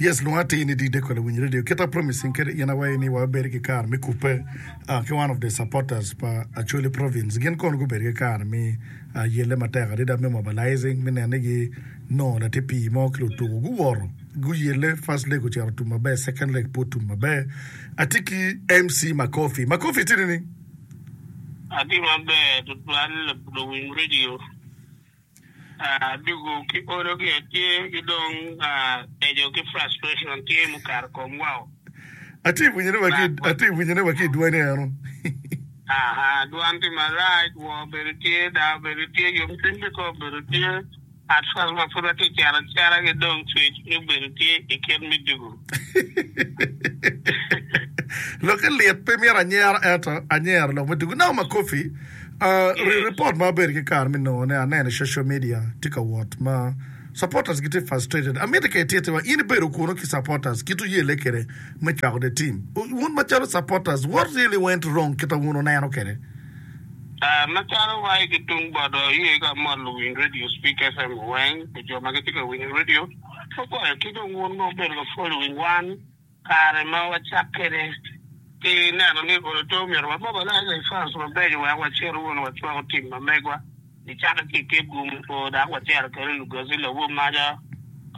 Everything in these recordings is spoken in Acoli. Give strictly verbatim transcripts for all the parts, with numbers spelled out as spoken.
Yes, lwonga atir ni D Deco lawiny radio. Kita promising kede in awayi ni wabedo ki kare me kupe uh, ki one of the supporters pa Acholi Province. Gin kono gubedo ki kare me uh, yelle matek adada me mobilizing me neno ni gi nongo latin pii mo ki lutuku guwoto guyelle first leg ocito tum maber second leg pe otum maber. Atye ki MC Makofi. Makofi tye nining? Atye maber tutwal luwiny radio dugu ki olo ki tye ki dong ejo ki frustration tye mukato kom wao. Atye winyone wa ki atye winyone wa ki i dwani eno. Aha, dwan tye marac, woo obedo tye, daa obedo tye, yomcwiny be ko obedo tye. At first ma pud watye cero acera ki dong cwec obedo tye i kit me dugu. Lokke lit pe myero anyero ento anyero lok me dugu. Now Makofi, uh, Yes. report ma abedo ki kare me nongone aneno i social media tye ka wot ma supporters gitye frustrated. Amito ka ititiwa in ibedo kunu ki supporters kit oyelle kede me cwako the team. Wun macalo supporters, what really went wrong kita wun oneno kede? Uh, macalo wai ki tung bot oye ka mot luwiny radio Speak FM weng pi jo ma gitye ka winyo radio ogoyo ki dong wun ma obedo ka following wan kare ma wacak kede ki neno ni olo to myero wa mobilize fans mabeco wek wacit wunu wacwako team ma megwa nicake ki i Kitgum o dok wacito kede Lugazi lawo maca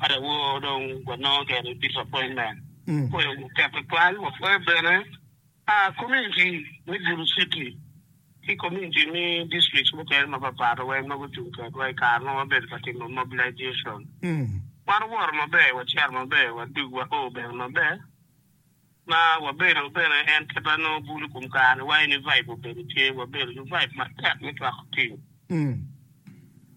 ka lawo dong wanongo kede disappointment Mm. pwoyo tek tutwal wapwoyo bene ah, community me Gulu City ki community me districts mukene mapapat weng ma gucung kedwa i kare ma wabedo ka timo mobilization Mm. wan owoto maber wacito maber wadug wao bene maber ma wabedo bene en kit nongo bulu kum kare wai ni vibe obedo tye wabedo ki vibe matek me cwako team Mm.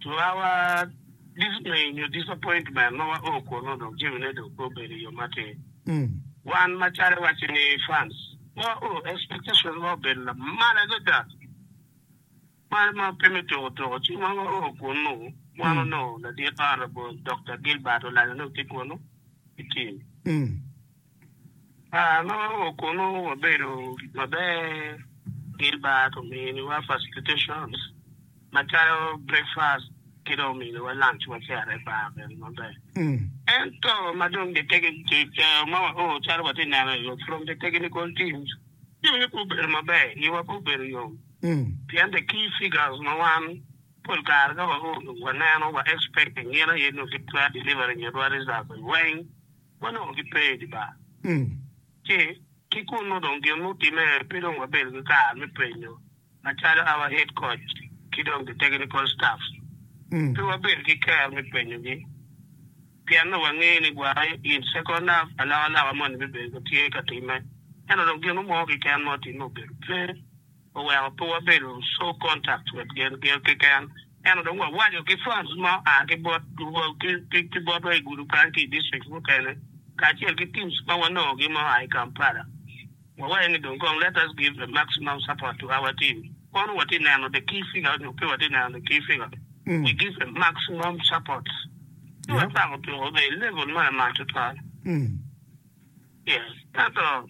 to our dismay nyo disappointment ma wao kunu dong jamine dong pe obedo i yo matir Mm. wan macalo waco ni fans ma wao expectation ma obedo lamal adada ma ma pe me tuko tuko ci ma wao kunu wan Mm. onongo ladit honorable Dr. Gilbert Olanya nongo tye kunu i team Mm. Ah, ma wao kunu wabedo maber Gilbert ominiwa facilitations macalo breakfast ki dong ominiwa lunch wacito i bar bene maber Mm. ento ma dong the technical ma wao calo watye neno from the technical teams jamine pe obedo maber iwa pe obedo yom Mm. pien the key figures ma wan pol kare ka wao waneno wa expecting gin aye nongo gitwero delivering itwa results weng wanongo gipe i di bar Mm. ci ki kunu dong gin mutime pe dong wabedo ki kare me penyo macalo our head coach ki dong the technical staff Mm. pe wabedo ki ker me penyogi pien no wangeyo ni gwai in second half alokaloka moni bibedo ka tye ka time ento dong gin mo keken ma otime obedo pe oweko pe wabedo so contact with gin gin keken ento dong wawaco ki fans ma oa ki bot ki- ki ki botwa i gudo kany ki i district mukene kacel ki teams ma wanongogi ma oa i Kampala wawaco ni dong kong let us give the maximum support to our team kono watye neno the key figure nyo pe watye neno the key figure Mm. we give a maximum support ci Yeah. wacako tuko be level ma lamal tutwal Mm. yes ento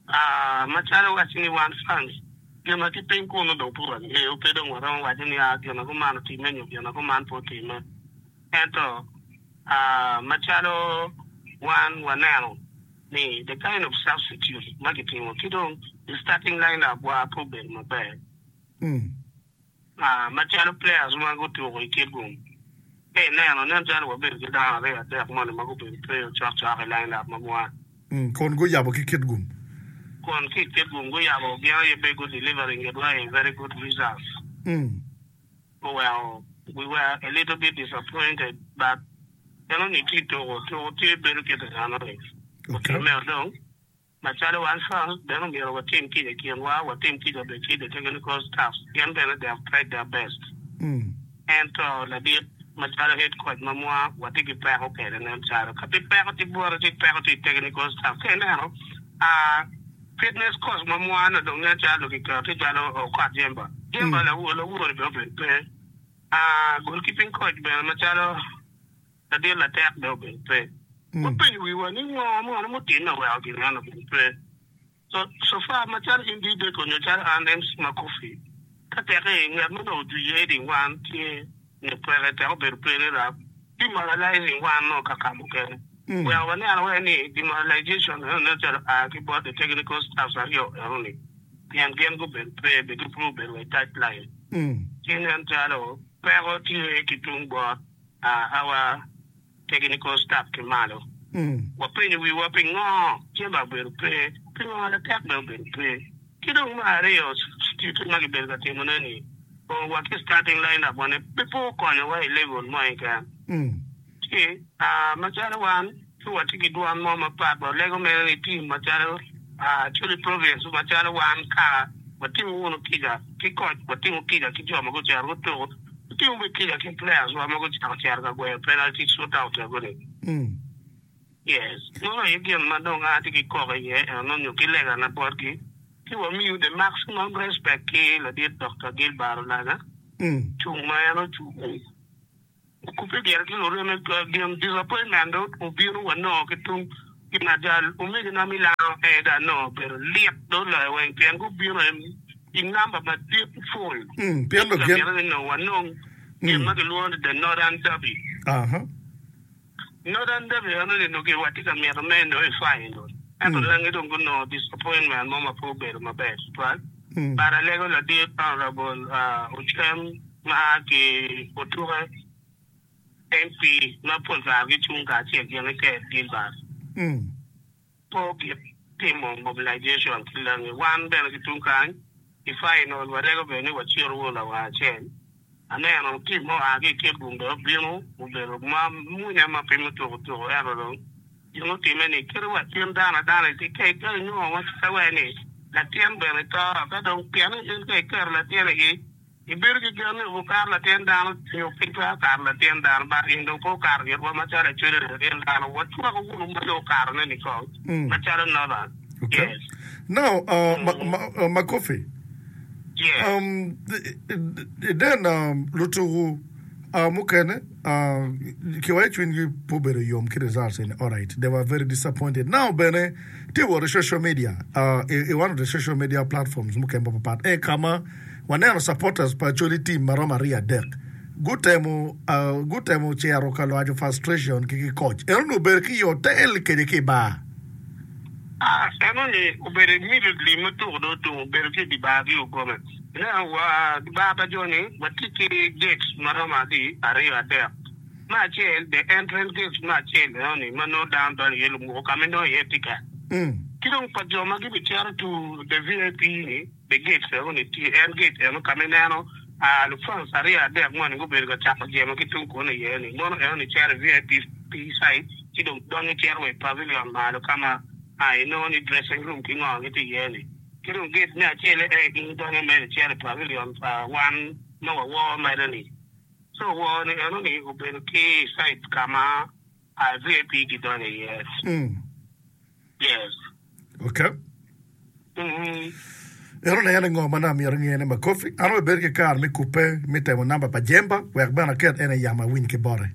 ah, macalo waco ni wan fans gin ma tye piny kunu dong pe wangeyo pe dong waromo waco ni ah, gin ma kuman otime nyo gin ma kuman pe otime ento ah, macalo wan waneno ni the kind of substitute ma kitimo ki dong the starting lineup wa pe obedo maber Mm. Ah, macalo players ma gutuko i Kitgum pe ineno nen calo wabedo ki dano aryo adek moni ma gubedo pe cokcok i lineup ma mwa Mm. Kun guyabo ki Kitgum. kun ki i Kitgum guyabo gin aye be gu delivering itwa a very good results Mm. oweko we were a little bit disappointed but eno ni tye tuko tuko tye bedo kit enoni Okay. otime dong macalo wan fans bene omyero watim kica i kinwa watim kica be ki the technical staff gin bene they have tried their best Mm. ento ladit macalo head coach ma mwa watye ki peko kede nen calo ka pi peko tye bwote tye peko tye i technical staff ka ineno ah, fitness coach ma mwa no dong nen calo kiketo tye calo Okot Jemba Jemba Mm. lawo lawori be obedo pe ah, goalkeeping coach bene macalo ladit latek be obedo pe Mm. wapenyo wiwa ni ngo mono mutime oweko gin eno obedo pe so so far macalo in DJ nyo calo an MC Makofi ka teke ngat ma dong ojwiyo heading wan tye nyo peke tek obedo pe ni rap demoralizing wan no ka ka mukene Weko waneno wai ni demoralization eno nen calo oa ki bot the technical staffs aryo eno ni pien gin gubedo pe be gi pe obedo wa i touch line ci nen calo peko tye ki tung bot our technical staff ki malo. Wapenyo wiwa pingo Jemba obedo pe, pingo Latek bene obedo pe. Ki dong me aryo substitute ma gibedo ka timone ni o wa ki starting line up wa ni pe pe okonyowa i level mo keken. Ci macalo wan pe watye ki dwon mo mapat walego mere ni team macalo Acholi Province macalo wan kaka watimo wunu kica ki koc watimo kica ki jo ma gucito gutuko watimo bene kica ki players wa ma gucako cito ka gweyo penalty shootout ego-ni. Yes, meno aye gin ma dong an atye ki koko iye eno nyo ki legana botgi ci wamiyo the maximum respect ki ladit Dokta Gilbert Olanya cung ma en ocung okubbe gire ki lureme gin disappointment dong obino wanongo ki tung gin ajal omegina me lango ee dong anongo obedo lit dong oloyo weng pien gubino i namba madit full Pien dong gin mito ni nongo wanong gin ma kilwongo ni the Northern Derby. Northern Derby eno ni nongo watye ka mito me nongo i final ento langi dong gunongo disappointment mo ma pe obedo maber tutwal but alego ladit Honorable Ocem ma a ki Otuke M P ma pol kare gicung kacel gin ki Ker Gilbert pe ogik timo mobilization ki langi wan bene ki tung kany i final walego bene ni wacito wunu lawang acel aneno team mo oa ki i Kitgum dong obino obedo ma munya ma pe mutuko tuko ento dong gin otime ni kadi wa in dano adana itye ka ka inongo macalo wai ni latin bene to ka dong pien ni in ka iketo latin i ibedo ki gen ni okato latin dano nyo pe twero kato latin dano but in dong pe okato itwa macalo Acholi latin dano wacwako wunu ma dong okatone ni kong macalo Northern. Okay. Yes. Now, uh, ma, ma, uh, Makofi, Yes. um, then um, lutuku uh, mukene uh, kiwayo cwinygi pe obedo yom ki results ni alright they were very disappointed. Now bene tye wot i social media uh, i, i one of the social media platforms mukene mapapat e kama waneno supporters pa Acholi team maromo aryo adek gutemo uh, gutemo cero ka lwaco frustration ki ki coach eno ni obedo ki i hotel kede ki i bar. Ah, eno ni obedo immediately ma tuko dong otum obedo ki i di bar ki okome. Ineno wa di bar pa jo ni watye ki gates maromo adi aryo adek. Me acel the entrance gates me acel eno ni ma nongo dano donyo iye lumuko ka ma inongo iye ticket. Ki dong pa jo ma gibicito to the V I P ni the gates eno ni tye en gate eno ka ma ineno ah, lufans aryo adek moni gubedo ka cako jemo ki tung kunu iye ni mono eno ni cito i V I P side ci dong donyo cito wa i pavilion malo ka ma ah, inongo ni dressing room ki ngo gitye iye ni. Ki dong gate me acel e in donyo mere cito i pavilion pa wan ma wawor mere ni. So wor ni eno ni obedo ki side ka ma ah, V I P gidonyo iye. Mm. Yes. Okay. Mm-hmm. Ero ne en ngo ma na myero ngene Makofi an obedo ki kare me kupe me temo namba pa Jemba wek bene aket en i yamo awiny ki bote.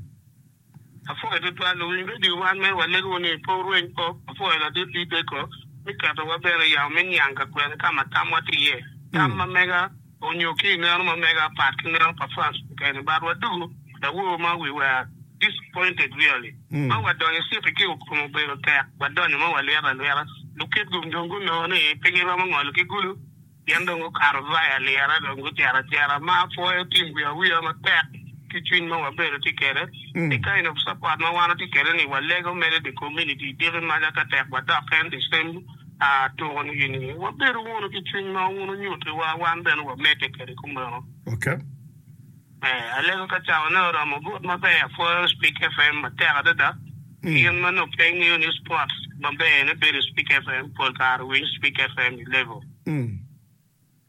Apwoyo tutwal luwiny radio wan mere walego ni pe wurweny pok apwoyo ladit Ibeko me ketowa bene i yamo me niang ka kwene ka ma tamwa tye iye. Tam ma mega onyo ki i neno ma mega pat ki neno pa fans mukene but wadugo lawor ma we were disappointed really. Ma wadonyo city ki okomo obedo tek wadonyo ma walwito alwita Lukitgum dong gunongo ni pe giromo ngolo ki gulu gin dong gukato via lira dong gucito acita ma apwoyo team wiya wiya matek ki cwiny ma wabedo tye kwede the kind of support ma wan watye kwede ni walego mere the community diki maca ka tek wadok en the same uh, tuko ni gini wabedo wunu ki cwiny ma wun onyutiwa wan bene wamedde kwede kumeno. Okay. Eh, alego ka cawa ne oromo but maber apwoyo Speak F M matek adada gin ma nongo pe ingeyo ni sports maber ne bedo Speak F M pol kare winyo Speak F M i level. Mm.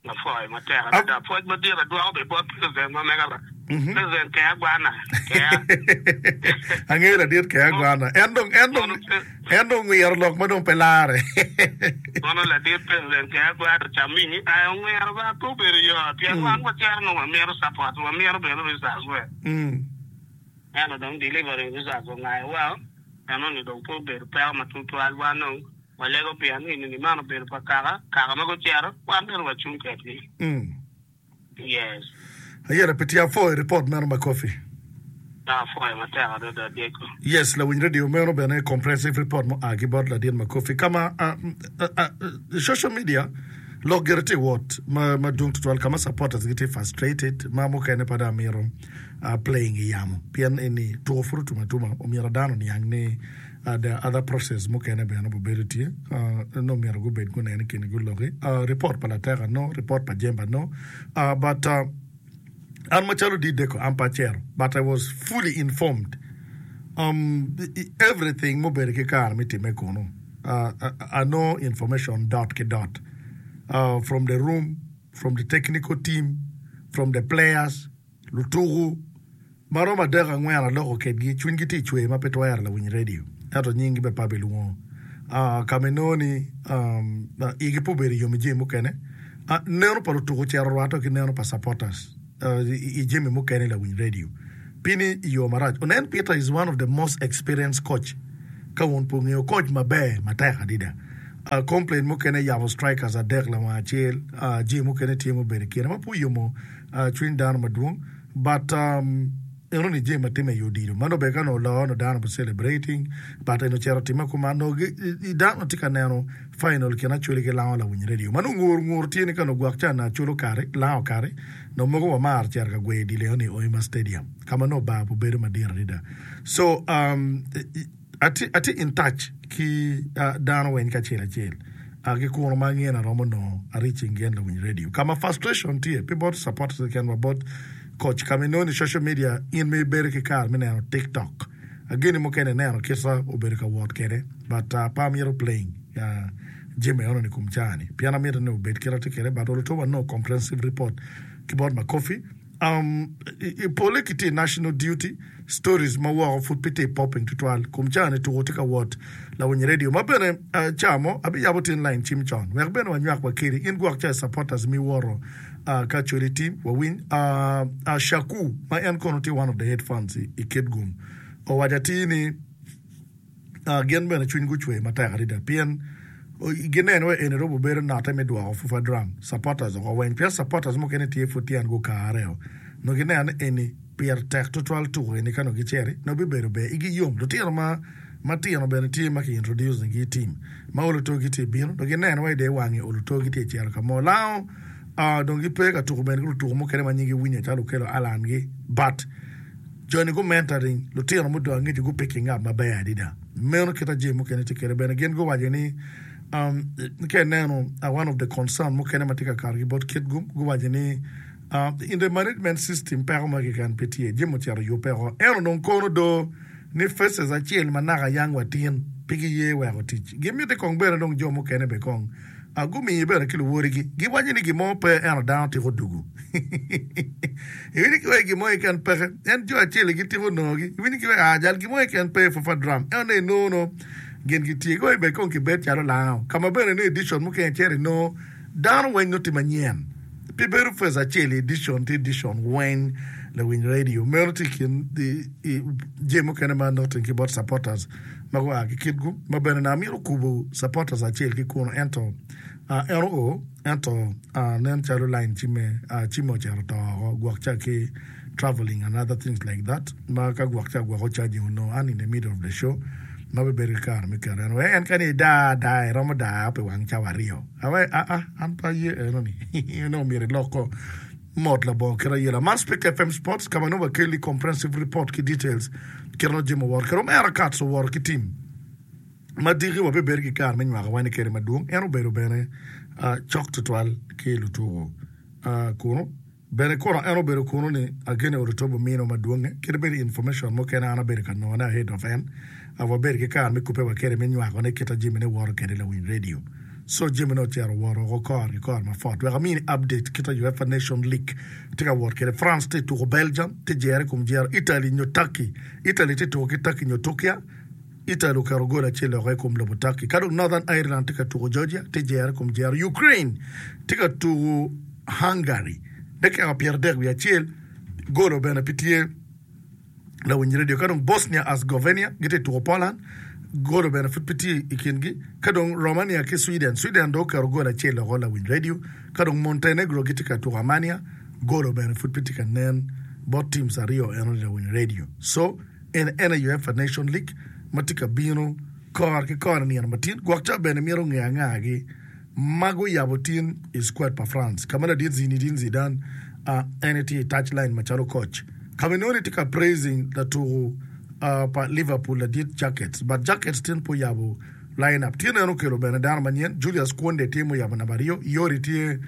Apwoyo matek adada pwoc madit adwoko be bot president ma mega ba president Kea Gwana Kea. Angeyo ladit Kea Gwana en dong en dong en dong ngwiro lok ma dong pe lare. Mono ladit president Kea Gwana camini ai ongwero ba pe obedo yot pien wan wacito nongo wamito support wamito bene results we Mm. ento dong delivering results ongayo wa eno ni dong pe obedo peko ma tutwal wan dong walego pien ni ni man obedo pa kaka kaka ma gucito wan bene wacung kedgi. Mm. Yes. Ayera pe tye apwoyo report meno Makofi. Apwoyo matek adada Diego. Yes, lawiny radio meno bene comprehensive report mo a ki bot ladit Makofi kama uh, uh, uh, social media lok gire tye wot ma madwong tutwal kama supporters gitye frustrated ma mukene pa dong amito uh, playing i yamo pien eni tuko pud otum atuma omyero dano oniang ni uh, there are other process mukene bene obedo tye uh, no myero gubed gunene kini guloki uh, report pa Lateka no report pa Jemba no uh, but uh, an macalo Dideko an pa acero but I was fully informed um, everything mubedo ki kare mi time kunu uh, I, I know information dot ki dot uh, from the room from the technical team from the players lutuku maromo adek angwen aloko kedgi cwinygi tye cwer ma pe twero lawiny radio ento nyinggi be pa bilwongo uh, kama inongo ni um, uh, igi pe obedo yom i jami mukene uh, neno pa lutuku ocito orwatte ki neno pa supporters uh, i, i jami mukene lawiny radio pini i yo marac onen Peter is one of the most experienced coach ka wun pe ong'eyo coach maber matek adida uh, complaint mukene yabo strikers adek lawang acel uh, jami mukene tye mubedo i kine ma pe oyomo uh, cwiny dano madwong but um, eno ni jami matime i odido mano be ka no oloo no dano be celebrating but eno cero time kuman no gi- i- i dano tye ka neno final kine Acholi ki Lango lawiny radio mano ngur ngur tye ni ka no gwok ca na Acholi okari Lango okari no mogo wamar cero ka gweyo dile eno ni Oima Stadium kama no bar obedo madit adada so um, atye atye in touch ki uh, dano weng kacel acel uh, ki kuno ma ang'e aromo nongo reaching gen lawiny radio kama frustration tye pi bot supporters keken wa bot coach kama inongo ni social media in mi bedo ki kare mi neno TikTok ageni mukene neno kita obedo ka wot kede but uh, pa amito playing uh, jami eno ni kum cani pien amito ni obed kit atye kede but oluto no comprehensive report ki bot Makofi um, i, i pole ki tye national duty stories ma woko pud pe tye popping tutwal kum cani tuko tye ka wot lawiny radio ma bene uh, camo abiyabo tin line cim con wek bene wanywak wa kedi in gwok ca supporters mi woro uh, ka Acholi team wawiny uh, uh, Shaku ma en kono tye one of the head fans i, i Kitgum owaco atir ni uh, gin bene cwiny gucwe matek adada pien o- gineno we eni robo bedo note me dwoko Fufa Drum supporters oko weng pien supporters mukene tye pud tyen gukare no gineno ni eni pire tek tutwal tuko eni ka no giceri no bibedo ber igi yom lutino ma matino bene tye ma ki introduce gi team ma oluto gitye bino no gineno wa ide wangi oluto gitye cero ka mo Lango uh, dong gipe ka tuko bene ki lutuko mukene ma nyingi winyo calo okelo Alan gi but joni gu mentoring lutino mudong angec gu picking up maber adida meno kita jami mukene tye kede bene gin guwaco ni um, ka ineno uh, one of the concern mukene ma tye ka kato ki bot Kitgum guwaco ni uh, in the management system peko mo keken pe tye jami ocito yubbe oko ento dong kono do ni faces acel ma naka yang watin pe giye weko tic gimiti kong bene dong jo mukene be kong uh, gumiyi bene ki luwodigi giwaco ni gimo pe ento dano tiko dugu iwinyo ki wai gimo keken peke en jo acel gitiko nongogi iwinyo ki wai ah jal gimo keken pe Fufa Drum ento ne inongo gin gitye giwai be kong kibed calo Lango kama bene ni edition mukene cero inongo dano weng nongo tye manyen pi bedo face acel i edition ti edition weng lawiny radio meno tye i kin i- i jami mukene ma noting ki bot supporters ma gua ki Kitgum ma bene na amito kubo supporters acel ki kuno ento uh, en oo ento uh, nen calo line cime uh, cime ocito to oko gwok ca ki traveling and other things like that ma ka gwok ca gwoko charging onongo an in the middle of the show ma bibedo ki kare me keto en we en kani ida da iromo da pi wang cawa aryo awe a a an pa ye eno ni onongo myero iloko mot labongo kit ayela man Speak F M Sports kama nongo wakeli comprehensive report ki details kit no jami oworo kede omera Kats oworo ki team ma diki wabibedo ki kare me nywako wani kede madwong en obedo bene uh, cok tutwal ki lutuko uh, kuno bene kono en obedo kuno ni agene orutobo mino madwonge kede bedo information mukene an abedo ka nongone ahead of en uh, wabedo ki kare me kupe wa kede me nywakone kita jamine woro kede lawiny radio so jamine ocero woro oko kor ki kor ma fot wek amini update kita UEFA Nation League tye ka wot kede France tye tuko Belgium tye jere kom jero Italy nyo Turkey Italy tye tuko ki Turkey nyo Turkia Italy oketo gol acel oko i kom lobo Turkey ka dong Northern Ireland tye ka tuko Georgia tye jere kom jero Ukraine tye ka tuko Hungary dakika pyero adek wiye acel golo bene pe tye lawiny radio ka dong Bosnia Herzegovina gitye tuko Poland golo bene pud pe tye i kingi ka dong Romania ki Sweden Sweden dong oketo gol acel oko lawiny radio ka dong Montenegro gitye ka tuko Armenia golo bene pud pe tye ka nen. Bot teams aryo eno ni lawiny radio. So en en aye UEFA Nation League ma tye ka bino kore ki kore nino matin. Gwok ca bene myero onge angagi ma guyabo tin i squad pa France ka ma ladit Zinedine Zidane en aye tye i touch line macalo coach. Ka ma inongo ni tye ka praising latuku pa Liverpool ladit Jackets but Jackets tin pe oyabo line up. Tin en okelo bene dano manyen Julius Kounde tye muyabo namba aryo, Yori tye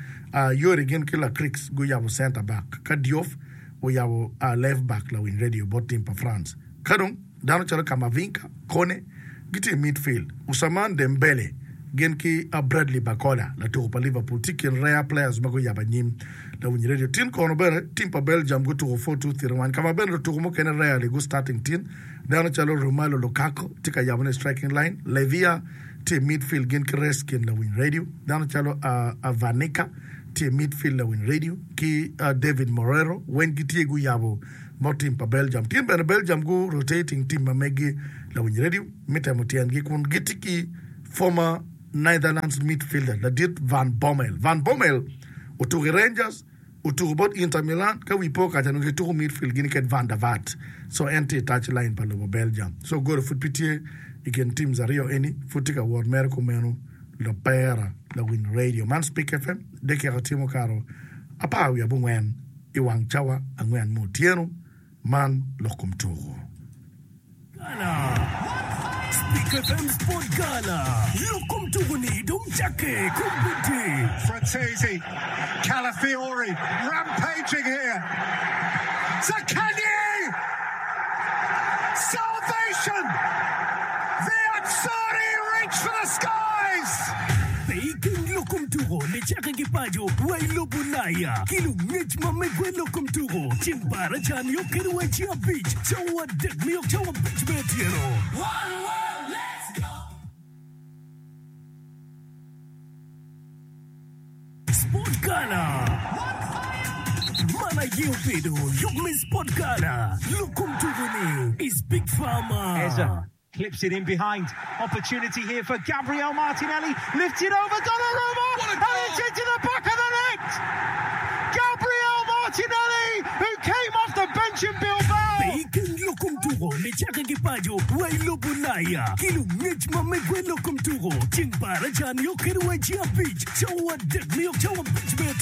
Yori gin ki Lacrix guyabo center back ka Diouf oyabo left back lawiny radio bot team pa France. Ka dong dano calo Camavinga, Kone gitye i midfield, Ousmane Dembele gin ki Bradley Barcola latuko pa Liverpool tye i kin rare players ma guyabo anyim lawiny radio. Tin kono bene team pa Belgium gutuko four two three one ka ma bene lutuko mukene rarely gu starting tin dano calo Romelu Lukaku tye ka yabone i striking line, Lavia tye i midfield gin ki Reskin lawiny radio, dano calo Vanika tye i midfield lawiny radio ki David Morero weng gitye guyabo bot team pa Belgium. Tin bene Belgium gu rotating team ma megi lawiny radio me temo tyengi kun gitye ki former Netherlands midfielder ladit Van Bommel. Van Bommel otuko i Rangers, otuko bot Inter Milan ka wi po kaca nongo gituko midfield gin ked Van der Vaart. So en tye i touch line pa lobo Belgium. So goro pud pe tye i kin teams aryo eni pud tye ka wot mere kumeno lopera lawiny radio. Man Speak F M dakika tye mukato apar wiye abongwen i wang cawa angwen me otyeno. Man lok kom tuko. Gala. Speak F M Sport Gala. Lok kom tuko ni dong cakke kombeddi. Frattesi, Calafiori rampaging here. Zaccagni! Salvation! The Azzurri reach for the skies! Pe ikeng lok kom tuko nicakke ki paco wa i lobo Ulaya ki lungec ma megwa i lok kom tuko ceng baraca nio kede wa i ceng abic cawa adek nio cawa abic me otyeno. Sport Gala. Man aye obedo yub me Sport Gala lok kom tuko ni i Speak Farmer. Eza clips it in behind. Opportunity here for Gabriel Martinelli. Lifted over Donnarumma. And it's into the back of the net. Gabriel Martinelli, who came off the bench in Bilbao. Pe ikeng lok kom tuko nicakke ki paco wa i lobo Ulaya ki lungec ma megwa i lok kom tuko ceng baraca nio kede wa i ceng abic cawa adek nio cawa abic me